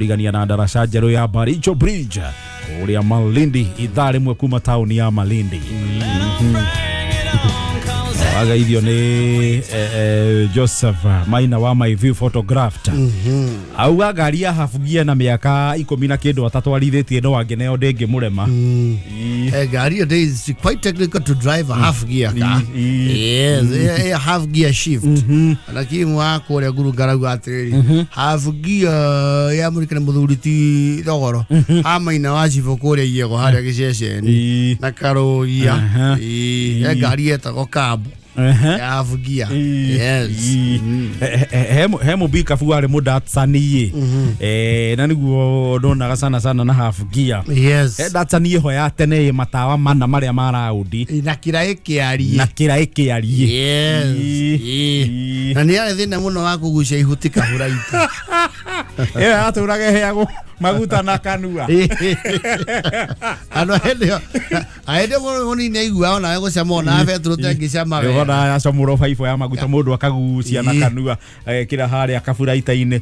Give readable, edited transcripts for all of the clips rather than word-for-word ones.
Rigania na ndaraca njerũ ya Baricho Bridge kũrĩa Malindi, ithaa rĩmwe kuma taũni ya Malindi. Agaithio nĩ Joseph Maina wa My View Photographed. Auga ngari ya half gear na mĩaka 10 na kĩndũ atatwarithĩtie no angĩneo ndĩngĩmũrema. Ngari ĩyo is quite technical to drive a half gear car. Yes, a half gear shift. Lakini mwako ũrĩa ngurungarauga atĩrĩrĩ, half gear ya mũrikana mũthuri ti thogoro ha Maina wa cibũ kũrĩa Iego harĩa gĩceceni na Karũgia. He ngari yetagwo kabu ya half gear. Yes. He mũbikabu warĩ mũdatsani na nĩguo ndonaga sana sana na half gear. Yes. He datsani ĩho ya tene ĩ matawa mana marĩa ma raundi na kĩraĩ kĩariĩ. Na kĩraĩ kĩariĩ. Yes. Na nĩ yarĩ thĩna mũno wa kũgucia ihuti kahũraita. Ĩyo yatũraga ĩheagwo maguta na kanua. Andũ hĩndĩ ĩyo mũnini aiguaga onawe gũcama ona betũrũ tengĩcama wega. Ũrona yacamũrwo baibũ ya maguta mũndũ akagucia na kanua agekĩra harĩa kaburaita-inĩ.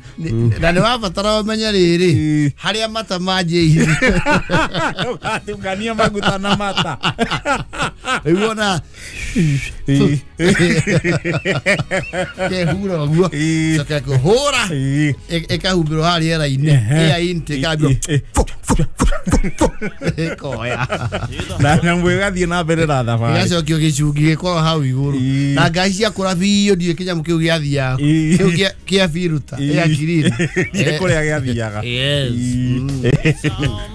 Na nĩ wabatara ũmenye rĩrĩ harĩa mata manjĩire. Ũgatungania maguta na mata. Rĩu ona kehura ũguo coke kũhũra ĩkahumbĩrwo harĩa rĩera-inĩ air intake ĩkambio ĩkoya na nyamũ ĩgathiĩ na mbere na thabarĩ ĩgacokio gĩcungi gĩkorwo hau igũrũ na ngari ciakũra biũ ndiũĩ kĩnyamũ kĩu gĩathiaga kĩu kĩa biruta air clean nĩ kũrĩa gĩathiaga. Yes.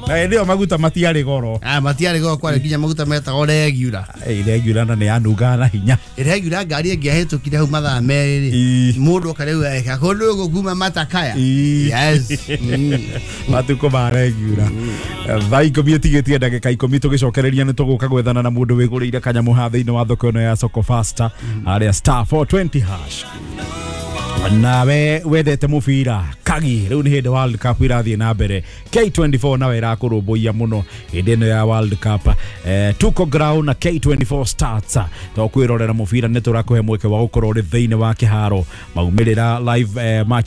Na hĩndĩ ĩyo maguta matiarĩ goro. Matiarĩ goro, kwarĩ nginya maguta metagwo regular. Regular na nĩ yanungaga na hinya. Regular ngari ĩngĩahĩtũkire hau mathaa merĩ rĩ mũndũ oka rĩu eka kũndũ gũkũ kuma matakaya. Yes. Matukũ ma regular. Thaa 10 ĩtigĩtie ndagĩka 10 tũgĩcokereria nĩ tũgũka gwethana na mũndũ wĩgũrĩire kanyamũ ha thĩinĩ wa thoko ĩno ya Soko Faster harĩa star 420 hash. Nawe wendete mũbira kagi rĩu nĩ hĩndĩ World Cup irathiĩ na mbere K24 nawe ĩrakũrũmbũiya mũno hĩndĩ ĩno ya World Cup. Tuko ground na K24 starts to kwĩrorera mũbira nĩ tũrakũhe mweke wa gũkorwo ũrĩ thĩinĩ wa kĩharo maumĩrĩra live match.